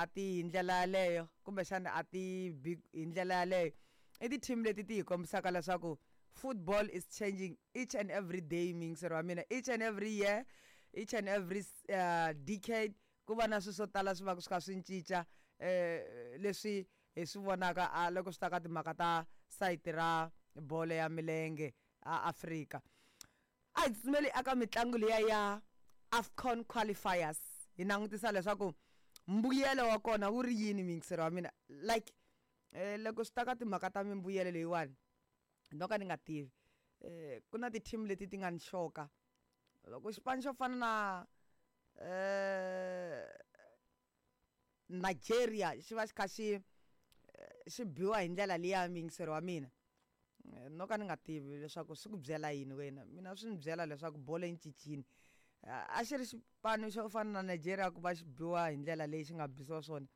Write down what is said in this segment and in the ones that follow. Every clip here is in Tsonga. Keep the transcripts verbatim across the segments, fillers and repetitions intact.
a ti hi ndlela yaleyo kumbexana a ti bi hi ndlela yaleyo i ti-team leti ti hi kombisaka leswaku football is changing each and every day muyingiseri wa mina each and every year each and every uh, decade ku va na swilo swo tala swi va swi kha swi cinca eh leswi hi swi vonaka a loko swi ta ka timhaka ta sayiti ra bolo ya milenge a Afrika a hi tsutsumeli aka mitlangu liya ya AFCON qualifiers hi langutisa leswaku mbuyelo wa kona wu ri yini muyingiseri wa mina like eh, loko swi ta ka timhaka ta mimbuyelo leyiwani no ka ni nga tivi eh ku na ti-team leti ti nga ni xoka loko xipano xo fana na eh Nigeria xi va xi kha xi xi biwa hi ndlela liya muyingiseri wa mina no ka ni nga tivi leswaku swi ku byela yini wena mina swi ni byela leswaku bolo yi cincile a xi ri xipano xo fana na Nigeria ku va xi biwa hi ndlela leyi xi nga bisiwa swona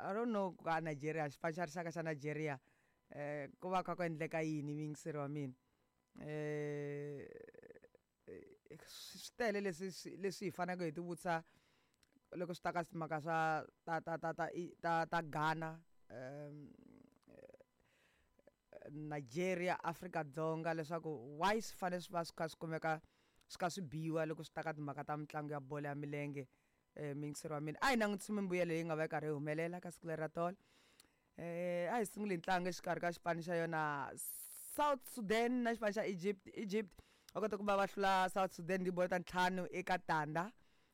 I don't know ka Nigeria xipano xa rixaka xa Nigeria eh ku va kha ku endleka yini muyingiseri wa mina eh swi tele leswi leswi hi faneleke hi ti vutisa loko swi ta ka timhaka swa ta ta ta ta ta ta Ghana um Nigeria Afrika-Dzonga leswaku why swi fanele swi va swi kha swi kumeka swi kha swi biwa loko swi ta ka timhaka ta mitlangu ya bolo ya milenge um muyingiseri wa mina a hi langutisi mimbuyelo leyi nga va yi karhi yi humelela ka siku leri ra tolo eh a hi sunguli ntlangu exikarhi ka xipano xa yona South Sudan na xipano xa Egypt Egypt va kota ku va va hlula South Sudan tibolo ta ntlhanu eka tandza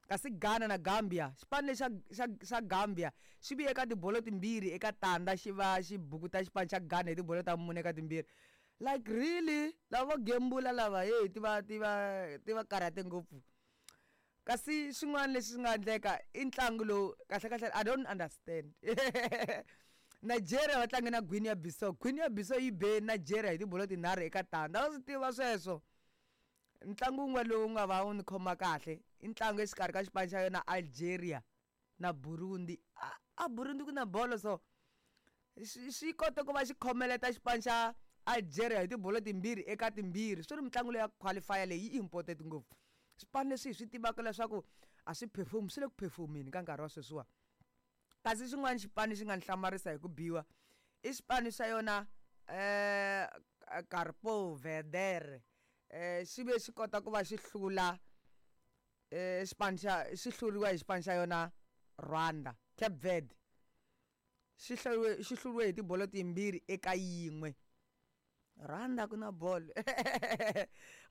kasi Ghana na Gambia xipano lexi xa xa xa Gambia xi vuye eka tibolo timbirhi eka tandza xi va xi bukuta xipano xa Ghana hi tibolo ta mune eka timbirhi like really lava vo gembula lava hey ti va ti va ti va karhate ngopfu kasi xin'wana lexi swi nga endleka i ntlangu lowu kahle kahle I don't understand Nigeria va tlange na Guinea Bissau Guinea Bissau yi be Nigeria hi tibolo tinharhu eka tandza wa swi tiva sweswo ntlangu wun'we lowu nga va wu ni khoma kahle i ntlangu exikarhi ka xipano xa yona Algeria na Burundi a, a Burundi ku na bolo so xi xi kote ku va xi khomeleta xipano xa Algeria hi tibolo timbirhi eka timbirhi swi ri mitlangu leyi ya qualifier leyi yi important ngopfu swipano leswi hi swi tivaka leswaku a swi perform swi le ku performeni ka nkarhi wa sweswiwa kasi xin'wana xipano xi nga ni hlamarisa hi ku biwa i xipano xa yona eh Cabo Verde eh xi ve xi kota ku va xi hlula eh xipano xa xi hluriwa hi xipano xa yona Rwanda Cape Verde xi hluriwe xi hluriwe hi tibolo timbirhi eka yin'we Rwanda ku na bolo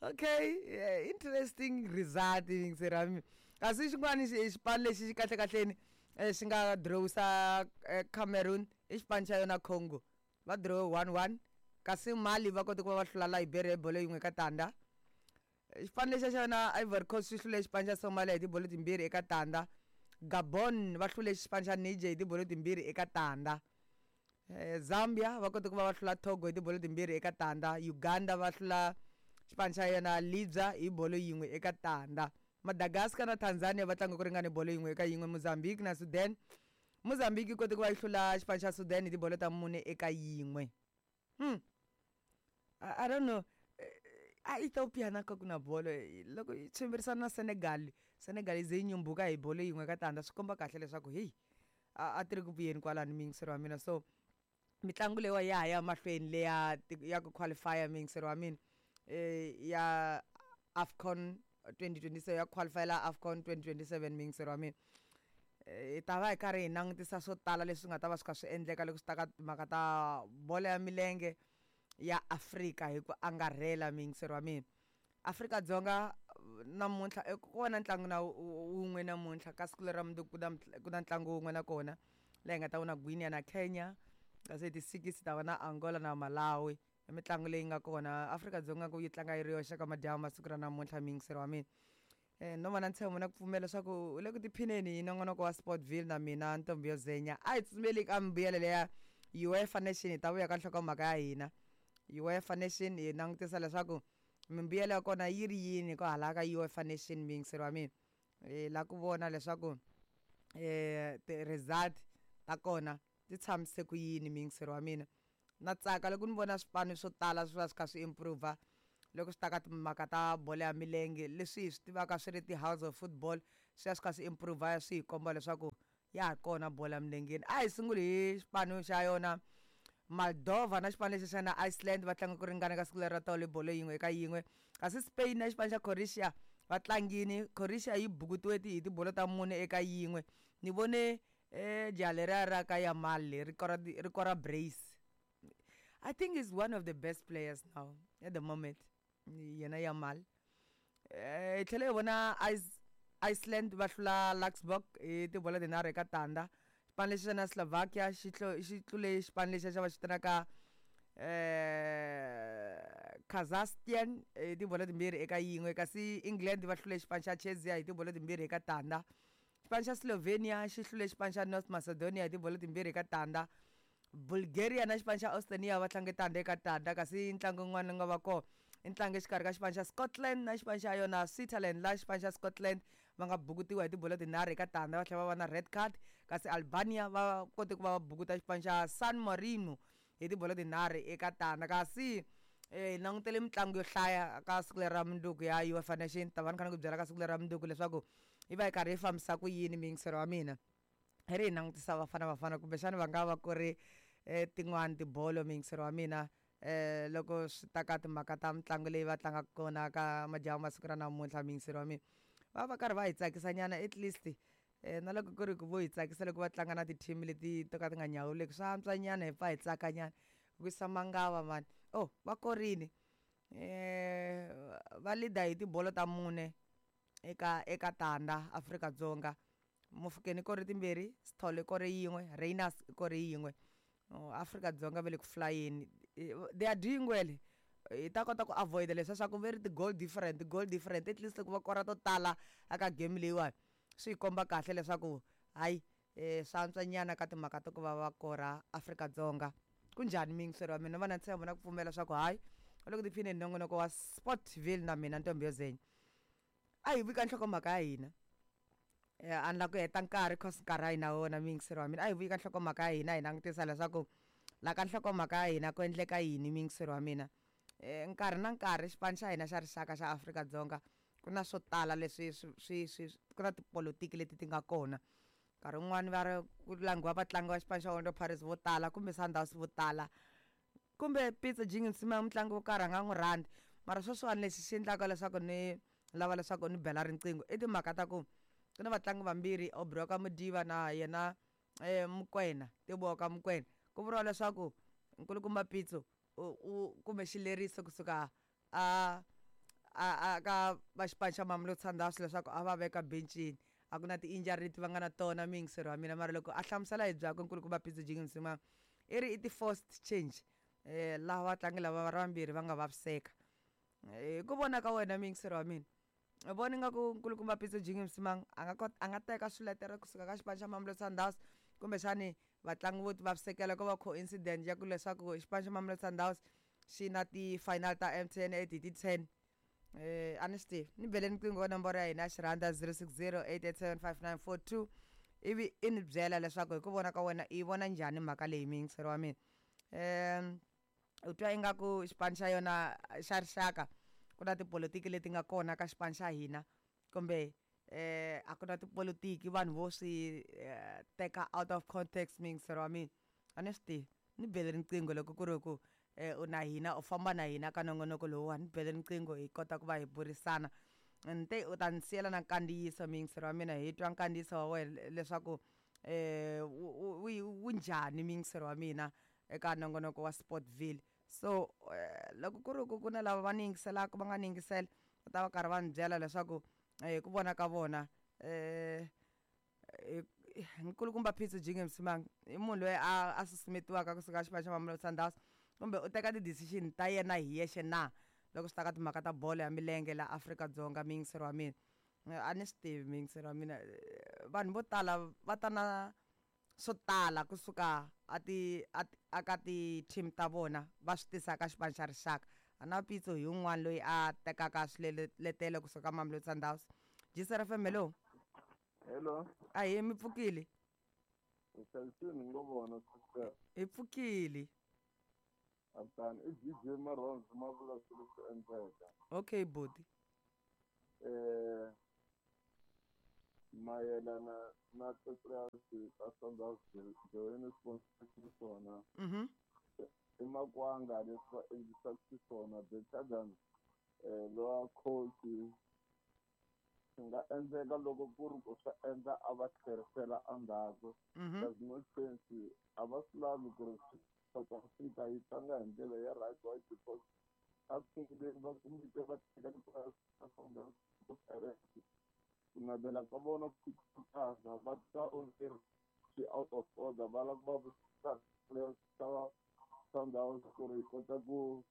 okay yeah, interesting result yingiseri wa mina kasi xin'wana xipano lexi xi kahle kahleni xi nga drawisa Cameroon i xipano xa yona Congo va draw one one kasi Mali va kote ku va va hlula Liberia hi bolo yin'we ka tandza xipano lexi xa yona Ivory Coast xi hlule xipano xa Somalia hi tibolo timbirhi eka tandza Gabon va hlule xipano xa Niger hi tibolo timbirhi eka tandza Zambia va kote ku va va hlula Togo hi tibolo timbirhi eka tandza Uganda va hlula xipano xa yona Libya hi bolo yin'we eka tandza Madagascar na Tanzania va tlanga ku ringana bolo yin'we eka yin'we Mozambique na Sudan Mozambique yi kote ku va yi hlula xipano xa Sudan hi tibolo ta mune eka yin'we hmm I, I don't know a Ethiopia na ka ku na bolo loko yi tshwimbirisana na Senegal Senegal yi ze yi nyumbuka hi bolo yin'we ka tandza swi komba kahle leswaku heyi a a ti ri ku vuyeni kwalano muyingiseri wa mina so mitlangu leyiwa ya ha ya mahlweni leya ya ku qualify muyingiseri wa mina eh ya AFCON twenty twenty-seven ya qualifyela AFCON twenty twenty-seven muyingiseri wa mina hi ta va hi karhi hi langutisa swo tala leswi nga ta va swi kha swi endleka loko swi ta ka timhaka ta bolo ya milenge ya Afrika hi ku angarhela muyingiseri wa mina Afrika-Dzonga namuntlha kona ntlangu na wun'we namuntlha ka siku leri ra mundzuku ku na ku na ntlangu wun'we na kona laha hi nga ta vona Guinea na Kenya kasi hi ti six ta va na Angola na Malawi i mitlangu leyi nga kona Afrika-Dzonga ku yi tlanga yi ri yoxe ka madyambu masiku ra namuntlha muyingiseri wa mina eh no va na ntshembo na ku pfumela leswaku u le ku tiphineni hi nongonoko wa Sportville na mina Ntombi yo Zenya a hi tsutsumeli ka mbuyelo leya UEFA Nation hi ta vuya ka nhlokomhaka ya hina UEFA Nation hi langutisa leswaku mimbuyelo ya kona yi ri yini ko hala ka UEFA Nation muyingiseri wa mina hi la ku vona leswaku eh ti-result ta kona ti tshamise ku yini muyingiseri wa mina na tsaka loko ni vona swipano swo tala swi va swi kha swi improve loko swi ta ka timhaka ta bolo ya milenge leswi hi swi tivaka swi ri ti-house of football swi ya swi kha swi improve swi hi komba leswaku Ya ha kona bolo ya milengeni. A hi sunguli hi xipano xa yona Moldova na xipano lexi xa na Iceland, va tlanga ku ringana ka siku leri ra tolo, bolo yin'we eka yin'we. Kasi Spain na xipano xa Croatia va tlangini, Croatia yi bukutiwe hi tibolo ta mune eka yin'we. Ni vone eh jaha leriya ra ka Yamal ri kora ri kora brace. I think he's one of the best players now at the moment, yena Yamal. Eh hi tlhela hi vona Iceland va hlula Luxembourg hi tibolo tinharhu eka tandza. Xipano lexi xa na Slovakia xi xi tlule xipano lexi xa va xi vitanaka eh Kazakhstan hi tibolo timbirhi eka yin'we. Kasi England va hlule xipano xa Czechia hi tibolo timbirhi eka tandza. Xipano xa Slovenia xi hlule xipano xa North Macedonia hi tibolo timbirhi eka tandza. Bulgaria na xipano xa Estonia va tlange tandza eka tandza. Kasi ntlangu wun'wana nga va kona i ntlangu exikarhi ka xipano xa Scotland na xipano xa yona Switzerland, laha xipano xa Scotland va nga bukutiwa hi tibolo tinharhu eka tandza, va tlhela va va na red card. Kasi Albania va kote ku va va bukuta xipano xa San Marino hi tibolo tinharhu eka tandza. Kasi eh hi langutele mitlangu yo hlaya ka siku leri ra mundzuku ya UEFA Nation. Ta va ni kha ni ku byela ka siku leri ra mundzuku leswaku yi va yi karhi yi fambisa ku yini, miyingiselo wa mina. Hi ri hi langutisa Bafana Bafana, kumbexana va nga va ku ri eh tin'wani tibolo, miyingiselo wa mina, eh loko swi ta ka timhaka ta mitlangu leyi va tlangaka kona ka madyambu masiku ra namuntlha, miyingiselo wa mina, va va karhi va hi tsakisa nyana at least. eh na loko ku ri ku vo hi tsakisa loko va tlanga na ti-team leti to ka ti nga nyawuleki, swa antswa nyana hi pfa hi tsaka nyana wisa mangava mani. Oh, va korini, eh va leader hi tibolo ta mune eka eka tandza Afrika-Dzonga. Mofokeng i kore timbirhi, Sithole i kore yin'we, Rayners i kore yin'we. Afrika-Dzonga va le ku flayeni, they are doing well. Hi ta kota ku avoid leswiya swa ku ve ri ti-goal different, goal different. At least loko va kora to tala aka game leyiwani, swi hi komba kahle leswaku hayi, eh swa antswa nyana ka timhaka ta ku va va kora Afrika-Dzonga. Kunjhani miyingiselo wa mina, va na ntshembo na ku pfumela swa ku hayi u le ku tiphineni nongonoko wa Sportville na mina Ntombi yo Zenya. A hi vika nhlokomhaka ya hina, a ni la ku heta nkarhi cause nkarhi a hi na wona, miyingiselo wa mina. A hi vika nhlokomhaka ya hina, hi langutisa leswaku la ka nhlokomhaka ya hina ku endleka yini, miyingiselo wa mina. Eh nkarhi na nkarhi xipano xa hina xa rixaka xa Afrika-Dzonga ku na swo tala leswi swi swi swi ku na tipolotiki leti ti nga kona. Nkarhi wun'wani va ri ku langiwa vatlangi va xipano xa Orlando Pirates vo tala kumbe Sundowns vo tala, kumbe Pitso Jingimsima mutlangi wo karhi a nga n'wi rhandzi. Mara sweswiwani lexi xi endlaka leswaku ni lava leswaku ni bela riqingho i timhaka ta ku ku na vatlangi vambirhi, Aubrey wa ka Modiba na yena eh Mokoena, Teboho ka Mokoena. Ku vuriwa leswaku nkulukumba Pitso u u kume xileriso kusuka a a a ka va xipano xa Mamelodi Sundowns leswaku a va veka bencini. A ku na ti-injury leti va nga na tona, miyingiselo wa mina. Mara loko a hlamusela hi byakwe nkulukumba Pitso Jingimsima, i ri i ti-forced change, eh laha vatlangi lava va ri vambirhi va nga vaviseka. Hi ku vona ka wena, miyingiselo wa mina, u vona ingaku nkulukumba Pitso Jingimsima a nga kota a nga teka swiletelo kusuka ka xipano xa Mamelodi Sundowns, kumbexani vatlangi vo ti vavisekela ko va coincidence ya ku leswaku xipano xa Mamelodi Sundowns xi na ti-final ta M T N eight hi ti-ten? eh a ni swi tivi. Ni bele riqingho ka nomboro ya hina ya xirhanda zero six zero eight eight seven five nine four two, ivi i ni byela leswaku hi ku vona ka wena i vona njhani mhaka leyi, miyingiselo wa mina. um u twa ingaku xipano xa yona xa rixaka ku na tipolotiki leti nga kona ka xipano xa hina, kumbe eh a ku na tipolotiki, vanhu vo swi teka out of context, miyingiselo wa mina? A ni swi tivi. Ni bele riqingho loko ku ri ku eh u na hina, u famba na hina ka nongonoko lowuwani, ni bele riqingho hi kota ku va hi burisana. Ni te u ta ni siyela na nkandziyiso, miyingiselo wa mina, hi twa nkandziyiso wa wena leswaku eh wu wu njhani, miyingiselo wa mina, eka nongonoko wa Sportville. So loko ku ri ku ku na lava va ni yingiselaka, va nga ni yingisela, va ta va karhi va ni byela leswaku hi ku vona ka vona eh nkulukumba Pitso Jingimsimang i munhu loyi a a susumetiwaka kusuka xipano xa Mamelodi Sundowns, kumbe u teka ti-decision ta yena hi yexe na loko swi ta ka timhaka ta bolo ya milenge la Afrika-Dzonga, miyingiselo wa mina? A ni swi tivi, miyingiselo wa mina. Vanhu vo tala va ta na swo tala kusuka a ti a a ka ti-team ta vona, va swi tisa ka xipano xa rixaka. A na Pitso hi wun'wana loyi a tekaka swiletelo kusuka ka Mamelodi Sundowns. G C R F M, hello. Hello. Ahee, mi pfukile? Hi hlayisile ngo vona, sister. Hi pfukile. Aptani i D J Maronzo ma vula swilo swi endleka. Okay, buti. Eh Mayelana na ti-players ta Sundowns join sponsor swona. Mhm. I makwanga leswi va endlisaka xiswona better than eh lowa coach swi nga endleka loko ku ri ku swa endla a va tlherisela endzhaku. Mhm. There's no chance a va swi lavi ku ri South Africa yi tlanga hi ndlela ya right why because a sunguleni va kumite va teka ti-players ta Sundowns to Pirates ku navela ka vona ku khutaza va twa onge swi out of order va lava ku va vutisa players ta Sundowns ku ri yi kota ku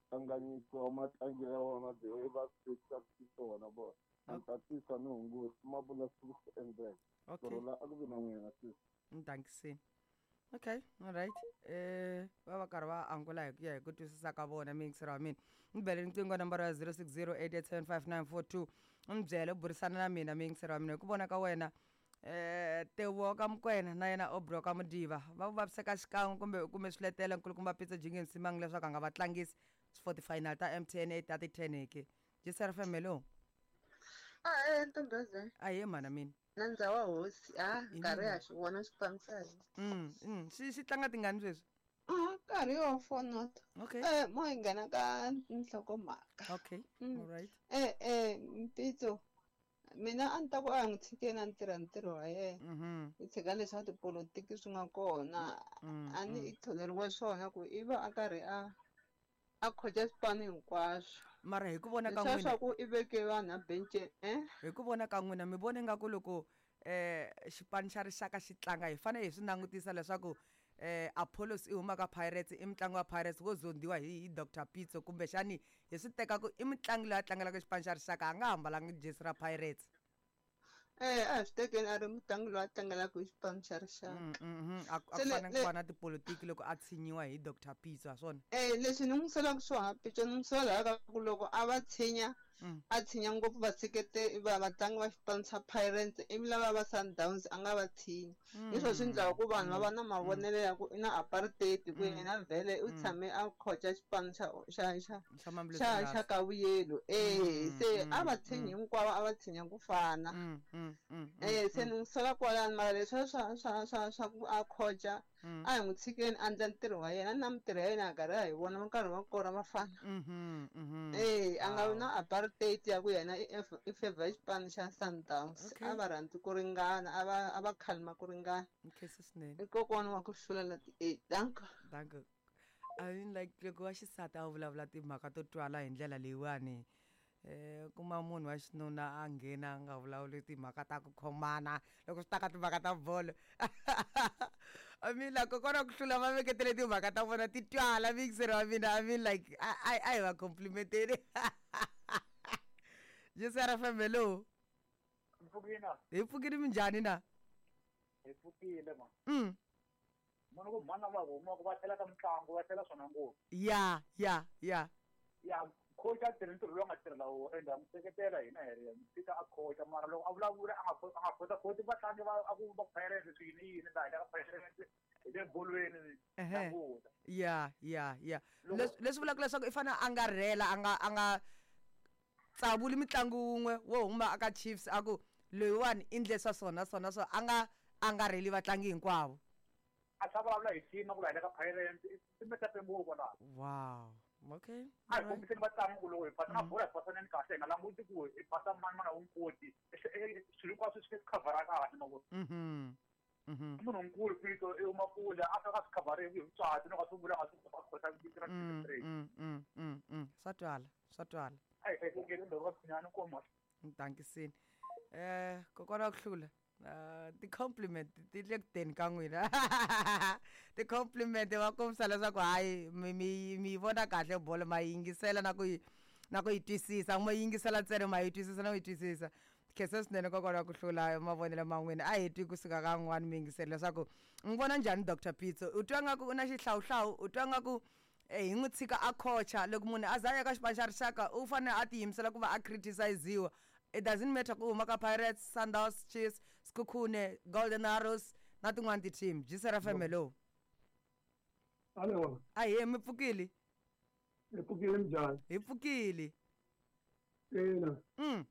kanganyisiwa matlangelo ya vona the way va swi tekisaka xiswona vona a ni ta tisa ni hunguta ma vula swi swi endleka Okay. ku rhula a ku vi na n'wina sisi. Ntankisini. Okay, all right. Eh va va karhi va angula hi ku ya hi ku twisisa ka vona miyingiseri wa mina. Ni bele riqingho nambara ya zero six zero eight eight seven five nine four two. U ni byele u burisana na mina miyingiseri wa mina hi ku vona ka wena eh Teboho ka Mokoena na yena Aubrey ka Modiba va vaviseka xikan'we kumbe u kume swiletelo nkulukumba Pitso Jingeni Msimang leswaku a nga va tlangisi for ti-final ta M T N eight ta ti-ten ke. J C R F M, hello. A e ntombazana. Ahee mhana mina. Nandza wa hosi a Hi nkarhi mina. ha xi vona xipano xa hina. Mm, mm. Xi xi tlanga tingani sweswi? A nkarhi wa four not. Okay. Eh mo hi nghena ka nhlokomhaka. Okay. Mm. All right. Eh eh Mpitso mina a ni ta ku a n'wi tshikeni a ni tirha ntirho wa yena. Mhm. Hi tshika leswa tipolotiki swi nga kona. Mm, A ni mm. i tholeriwe swona ku i va a karhi a a khocha swipano hinkwaswo. Mara hi ku vona ka Leswiya n'wina swa ku i veke vanhu a benceni eh hi ku vona ka n'wina mi vona ingaku loko eh xipano xa rixaka xi tlanga hi fanele hi swi langutisa leswaku eh Apollos i huma ka Pirates i mutlangi wa Pirates wo zondiwa hi hi Doctor Pitso kumbexani hi swi teka ku i mutlangi loyi a tlangelaka xipano xa rixaka a nga hambalanga jesi ra Pirates. Eh a hi swi tekeni a ri mutlangi loyi a tlangelaka hi xipano xa rixaka. Mm, mhm. A ku a Se ku le fanele le ku va na tipolotiki loko a tshinyiwa hi Doctor Pitso ha swona. Eh leswi ni n'wi solaka swona Pitso ni n'wi sola ka ku loko a va tshinya Mm. a tshinya ngopfu vaseketeri va vatlangi va xipano xa Pirates ivi lava va Sundowns a nga va tshinyi. Hi swona swi endlaka ku vanhu va va na mavonelo ya ku i na apartheid ku Mm. yena vhele u Mm. tshame a khocha xipano xa xa xa Xa Mamelodi xa xa Sundowns. ka vuyelo eh Mm, se a mm, va tshinyi mm. hinkwavo a va tshinya ku fana. Mm, mm, mm, mm, Eh se mm. ni n'wi sola kwalano mara leswiya swa swa swa swa ku a khocha Mm. a hi n'wi tshikeni a endla ntirho wa yena na mintirho ya yena hi karhi hi vona nkarhi wa kona vafana. Mhm, mhm. Eh a nga vi Wow. na apartheid ya ku yena i F- i favor xipano xa Sundowns. Okay. A va rhandzi ku ringana a va a va khalima ku ringana. Nkhensa swinene. I kokwana wa ku hlula la ti eight danko. Danko. I mean like loko wa xisati a vulavula timhaka to twala hi ndlela leyiwani eh kuma munhu wa xinuna a nghena a nga vulavuli timhaka ta ku khomana loko swi ta ka timhaka ta bolo. I mean like kokwana ku hlula va veketele timhaka ta vona ti twala mixer wa mina. I mean like a a a hi va complimenteni. J C R F M, hello. Mpfukile. Hi pfukile minjhani na? Hi pfukile ma. Mm. Munhu ku mhana va humaka va tlhela ka mitlangu va tlhela swona ngopfu. Ya ya ya. Ya coach a tirhi ntirho lowu a nga tirhela wona ende ha n'wi seketela hina hi ri tshika a coach mara loko a vulavula a nga a nga khota vatlangi va a ku va Pirates swi yini yini laha hi le ka Pirates hi le bolweni Ehe. languta. Ya ya ya. Loko Leswi leswi vulaka leswaku i fanele a nga rhela a nga a nga tsavuli mitlangu wun'we wo huma aka Chiefs a ku loyiwani i ndle swa swona swona swo a nga a nga rheli vatlangi hinkwavo. A tlhela vulavula hi team ku la hi le ka Pirates i metape ngopfu laha. Wow. Okay. A hi All right. kombiseni vatlangi ku loko hi phasa na Mm. bolo hi pasaneni kahle hi nga languti ku hi phasa mani mani a wu n'wi koti swilo hinkwaswo swi khavhara kahle ma vona. Mhm. Mhm. I munhu nkulu Pitso i huma kule a fika a swi khavhari hi vutswatsi loko a swi vula a swi a khota vito ra Mm, straight. mm, mm, mm, mm. Swa twala, swa twala. A hi hlayisekeni ndhawu ka Tshinyani inkomu. Ntankisini. Eh kokwana wa ku hlula. Uh, ti-compliment ti le ku teni ka n'wina. Ti-compliment va kombisa leswaku hayi mi mi mi yi vona kahle bolo ma yi yingisela na ku yi na ku yi twisisa mo yingisela ntsena ma yi twisisa na ku yi twisisa. Khensa swinene kokwana wa ku hlula mavonelo ma n'wina a hi twi kusuka ka n'wani miyingiseri leswaku n'wi vona njhani Doctor Pitso u twa nga ku u na xihlawuhlawu u twa nga ku eh, hi n'wi tshika a khocha loko munhu a za a ya ka xipano xa rixaka u fanele a tiyimisela ku va a criticiziwa. It doesn't matter ku huma ka Pirates, Sundowns, Chiefs, Sekhukhune, Golden Arrows na tin'wani ti-team. J C R F M, hello. Alo, Ahee mi pfukile? hi pfukile minjhani? Hi pfukile. Ina, Mm.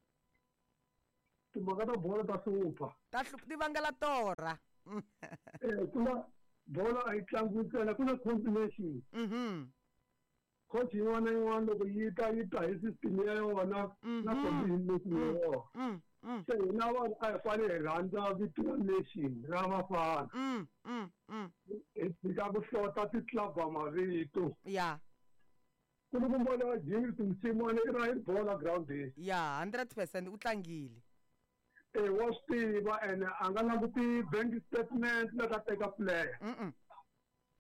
Timhaka ta bolo ta hlupha. Ta hlupha ti vangela torha. Eh ku na bolo a yi tlangiwi ntsena ku na combination. Mhm. Coach yin'wana na yin'wana loko yi ta yi ta hi system ya yona na combination ya yona. Mm. Mm. Se hina vanhu a hi fanele hi rhandza vito ra nation ra vafana. Mm. Mm. Mm. Hi tshika ku hlota ti-club mavito. Ya. Ku ni ku vona James Msimane i ra hi bola groundini. Ya, hundred percent u tlangile. Eh wa swi tiva ene a nga languti bank statement loko a teka player. Mm.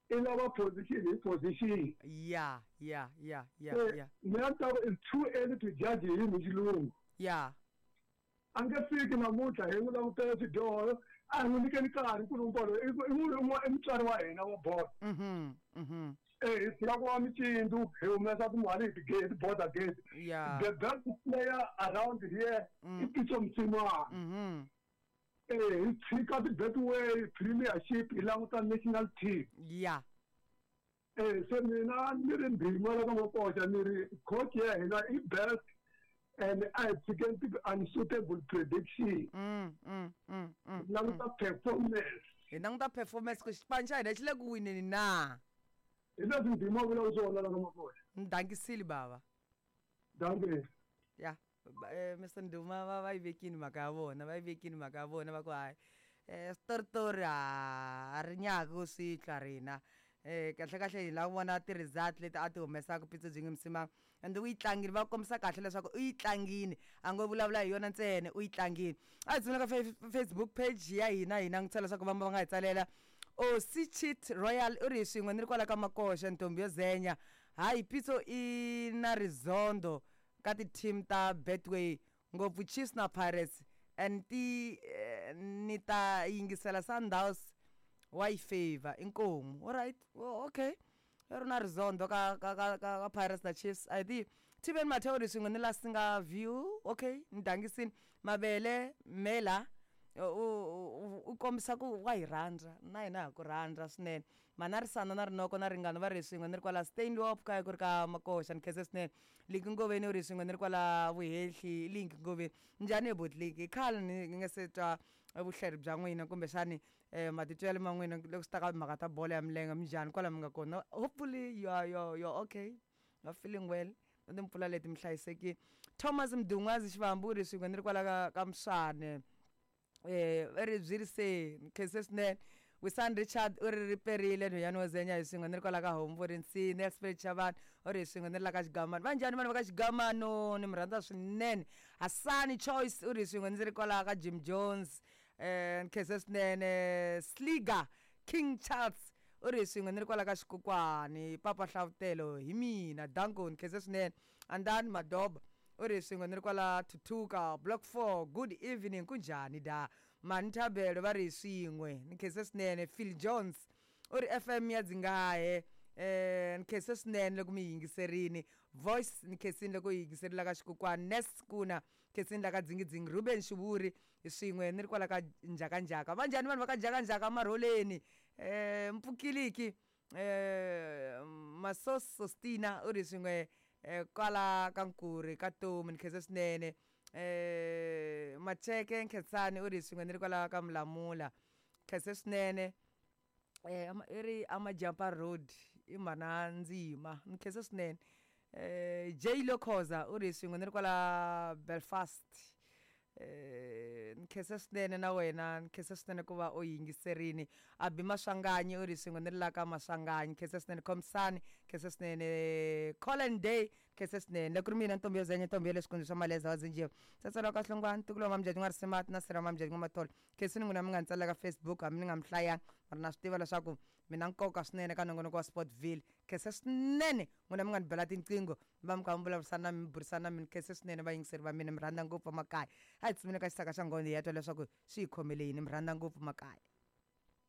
I lava position hi position. Ya, ya, ya, ya, Se ya. mina ni ta ku it's too early to judge him hi xilungu. Ya. A nge fiki namuntlha hi n'wi langutela swidyoho a hi n'wi nyikeni nkarhi nkulukumba loyi i i i mutswari wa hina wa bolo. Mhm. Mhm. Eh hi tshika ku va micindu hi humesa timali hi ti border gate. Ya. The best player around here Mm. i Pitso Mosimane. Mhm. Eh hi tshika ti-Betway Premiership hi languta national team. Ya. Eh se mina ni ri Ndima la ka Makoxa ni ri coach ya hina i best and a hi tshikeni ti-unsuitable prediction. Mm. Mm. Mm. Mm. Hi languta performance. Hi languta performance ku xipano xa hina xi le ku wineni na. Hi leswi Ndima a vulaka swona la ka Makoxa. Ni dangisile bava. Dankie. Ya. Eh Mister Nduma va va yi vekini mhaka ya vona, va yi vekini mhaka ya vona va ku hayi. Eh switoritori a ri nyaki ku swi twa rina. Eh kahle kahle hi lava ku vona ti-result leti a ti humesaka Pitso Jimmy Mosimane and u yi tlangile va kombisa kahle leswaku u yi tlangile a ngo vulavula hi yona ntsena u yi tlangile. A hi dzuneka ka Facebook page ya hina hi langutisa leswaku va va nga hi tsalela. Osi Cheat Royal u ri hi swin'we ni ri kwala ka Makoxa ntombi yo zenya. Hayi Pitso i na rizondo ka ti-team ta Betway ngopfu Chiefs na Pirates and ti eh, ni ta yingisela Sundowns wa yi favor inkomu. Alright, oh, okay. I ri na rizondo ka ka ka ka ka Pirates na Chiefs. I think Tiven Mateo ri swin'we ni la singa view. Okay, ni dangisini mavele mela u u kombisa ku wa hi rhandza na hina ha ku rhandza swinene. Manarisana na Rinoko na Ringano va ri swin'we ni ri kwala Stanley kaya ku ri ka Makoxa ni khense swinene. Linki Ngoveni u ri swin'we ni ri kwala Vuhehli Linki Ngoveni. Njhani buti Linki? I khale ni nga se twa vuhleri bya n'wina kumbexani eh matitwelo ma n'wina loko swi ta ka timhaka ta bolo ya milenge minjhani kwala mi nga kona. Hopefully you are you are, you are okay. You are feeling well. Na timpfula leti mi hlayisekile. Thomas Mdungwazi Xivambu u ri swin'we ni ri kwala ka ka Mswane. Eh i ri byi ri se ni khense swinene. Wisan Richard u ri riperile nhwanyana wo zenya hi swin'we ni ri kwala ka Hombo Nsini. Nelspruit Chavani u ri hi swin'we ni ri la ka Xigamano. Va njhani vanhu va ka Xigamano ni mi rhandza swinene. Hasani Choice u ri hi swin'we ndzi ri kwala ka Jim Jones. Eh ni khense swinene. Sliga King Charles u ri hi swin'we ni ri kwala ka Xikokwani. Papa Hlavutelo hi mina danko ni khense swinene. Andani Madoba u ri hi swin'we ni ri kwala Thuthuka Block four. Good evening kunjhani da. Mani Thabelo va ri hi swin'we ni khense swinene. Phil Jones u ri F M ya Dzingahe eh ni khense swinene loko mi yingiserini. Voice ni khensini loko yi yingiserile ka Xikokwani. Nes Kuna khensini la ka Dzingidzingi. Ruben Xivuri hi swin'we ni ri kwala ka Njakanjaka. Va njhani vanhu va ka Njakanjaka Marholeni? Eh Mpfukiliki eh Masos Sostina u ri swin'we eh kwala ka Nkuri ka Tomi ni khense swinene. Eh Macheke Nkhensani u ri swin'we ni ri kwala ka Mulamula khense swinene. Eh i ri Amajampa Road i mhana Ndzima ni khense swinene. Eh J Lokhoza u ri swin'we ni ri kwala Belfast. Eh ni khense swinene na wena ni khense swinene ku va u yingiserini. Abi Maswanganyi u ri swin'we ni ri la ka Maswanganyi khense swinene. Khomsani khense swinene. Colin Day khense swinene. Loko ri mina ntombi yo zenya ntombi ya le swikundu swa Maleza wa Zinjiwa. Tsatsela ka Hlongwane ntukulu wa Mamjadi n'wa Risimati na Sira Mamjadi n'wa Matholo. Khensini n'wina mi nga ni tsalela ka Facebook hambi ni nga mi hlayanga mara na swi tiva leswaku mi na nkoka swinene ka nongonoko wa Sportville. Khense swinene n'wina mi nga ni bela tinqingho va mi kha mi vulavurisana na mi burisana na mina. Khense swinene vayingiseri va mina mi rhandza ngopfu makaya. A hi tshumeni ka xisaka xa nghozi hi ya twa leswaku swi hi khomele yini mi rhandza ngopfu makaya.